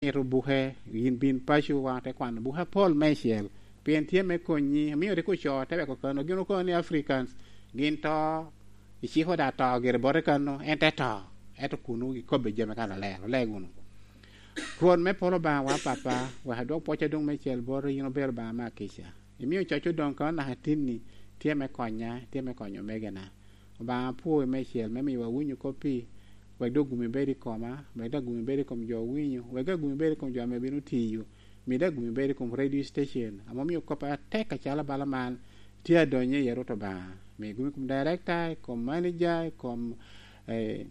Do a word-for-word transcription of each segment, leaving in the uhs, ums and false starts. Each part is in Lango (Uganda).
mito buke, yin bin paco, wan te kwano buke apol meicel, pien tye me konyi. Omio rik ocoo te weko kano, gin okono ni Africans gin to, iciko da to gire bote kano, en te to. Ento kunwu gikobbe jami ka aler, oleg wunu. Rwot me polo Obaŋawa Papa, wek adwok pwoc adoŋ meicel boti, yin obedo Obaŋa me akica. Imio coc odoŋ kano naka tinni, tye me konya, tye me konyo omegena. Obaŋa apwoi meicel me miyowa winyo koppi, wek dok gumi bed i koma, wek dok gumi bed i kom jo owinyo, wek dok gumi bed i kom jo ame bino tiyo, mi dok gumi bed i kom radio station, ame omio kop atek acalo bala man tye adonyo iye, Rwot Obaŋa. Mi gumi i kom director, i kom manager, i kom, eh,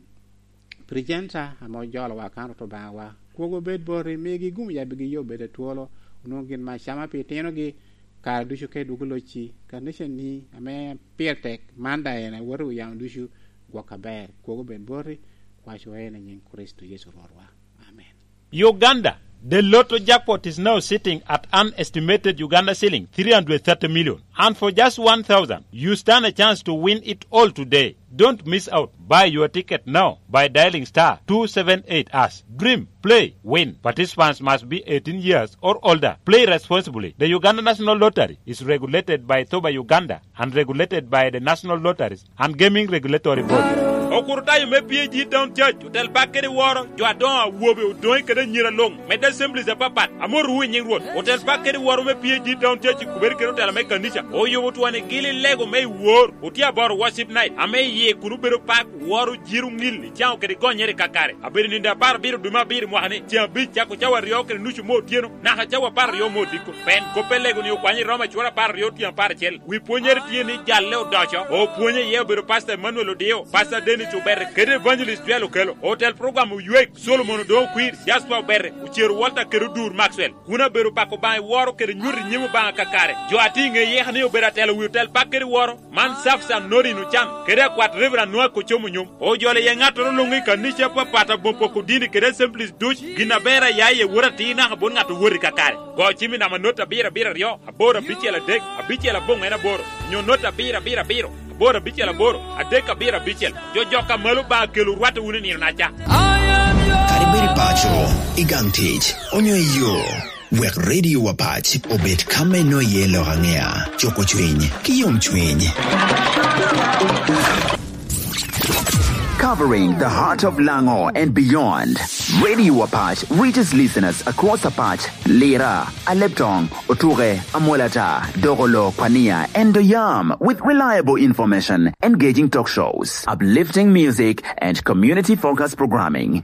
presenter ame ojolowa kan, Rwot Obaŋawa. Kwogo bed boti, migi gum yabigi yo bed atwolo, onwoŋo gin me acama pi itinogi, kare ducu ka idwogo locci, kanicani ame pire tek, man daŋ en awote wi yamo ducu, gwok aber. Kwogo bed boti, kwaco en i nyiŋ Kricito Yecu Rwotwa. Amen. Uganda, the lotto jackpot is now sitting at an estimated Uganda shilling three hundred thirty million. And for just one thousand, you stand a chance to win it all today. Don't miss out. Buy your ticket now by dialing star two seven eight hash. Dream, play, win. Participants must be eighteen years or older. Play responsibly. The Uganda National Lottery is regulated by thoba Uganda and regulated by the National Lotteries and Gaming Regulatory Board. Okurutayo me P A G Town Church otel bak kede woro jo adoŋo awobe odoŋe kede anyira luŋ, medde assemblies apapat, amotowu i nyiŋ Rwot. Otel bak kede woro me P A G Town Church i kubere kede otela me kanica oyubo twoni gili lego me i wor, otye aboro worship night, ame iye kun obedo pak, woro, jiro, ŋil, icaŋo kede gonyere kakare. Abedo nindo apar abiro dwe me abiro mwaka ni, ceŋ abic cako cawa aryo kede nucu me otyeno, naka cawa apar aryo me odiko. Pen kop pe lego ni okwanyo i Roma cura apar aryo tyen apar acel. Wi pwonyere tye ni jalle odoco, opwonye iye obedo Pastor Emmanuel Odio, Pastor Dennis Obere, kede Evangelist Joel Okelo. Otel program Oywek, Solomon Odongo Kwir, Jasper Obere, Ocero Walter kede Odur Maxwell. Kun abedo pako Obaŋa i woro kede nyuto i nyim Obaŋa kakare. Jo a tye i ŋe yeka ni obedo atelo wi otel bak kede woro, man Safsan Norin Ocan, kede akwat Reverend Noah Kocom Onyom. Ojolo iye ŋattoro luŋ i kanica apapat aboŋo poko dini kede assemblies duc, gin aber a ya iye wot atir naka bot ŋat owot i kakare. Go cim i namba not abiro abiro aryo, aboro abicel adek, abicel aboŋo en aboro, nyo not abiro abiro abiro, aboro abicel aboro, adek abiro abicel. Jo jok a malo Obaŋa kelo rwatte wunu i nino-naca. Kadi bed i paco, i gang tic, onyo i yo, wek Radio Wapac obed ka me nwoŋo iye lok aŋea, cuko cwiny, ki yomcwiny. Covering the heart of Lango and beyond, Radio Wapac reaches listeners across Apac, Lira, Aleptong, Otuke, Amolata, Dogolo, Kwania, and Doyam with reliable information, engaging talk shows, uplifting music, and community-focused programming.